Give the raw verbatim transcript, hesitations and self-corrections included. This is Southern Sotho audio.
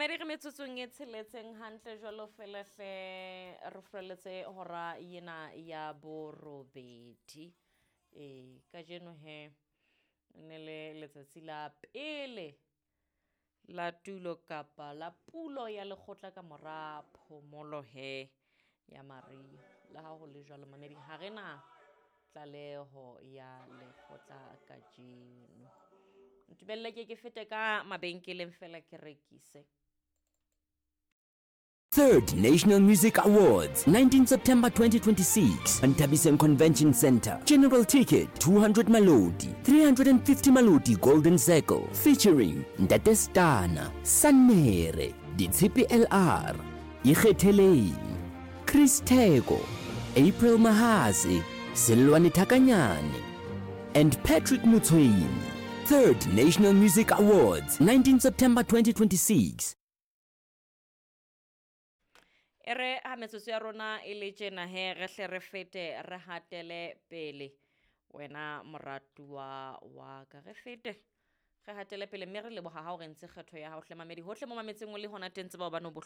Mamedi, re metsotsong e tsheletseng hantle jwalo fela hle, re furaletse hora ena ya borobedi. Ee, kajeno he ne le letsatsi la pele la tulo kapa la pulo ya lekgotla ka mora phomolo he ya mariha. Le ha ho le jwalo, mamedi, ha re na tlaleho ya lekgotla kajeno. Ntumelle ke ke fete ka mabenkeleng fela ke rekise. Third National Music Awards, nineteen September twenty twenty-six, Nthabiseng Convention Center. General ticket two hundred Maloti, three hundred fifty Maloti Golden Circle, featuring Ntate Stana, Sanere, Ditshipi L R, Ikgetheleng, Chris Theko, April Mahase, Selwane Thakanyane, and Patrick Mutshweni. Third National Music Awards, nineteen September twenty twenty-six. E re ha metsotso ya rona e le tjena he, re hle re fete re hatele pele, wena moratuwa wa ka, re fete re hatele pele, mme re leboha ha o re ntse kgetho ya hao hle, mamedi, hohle mo mametseng o le hona teng, tseba hobane o.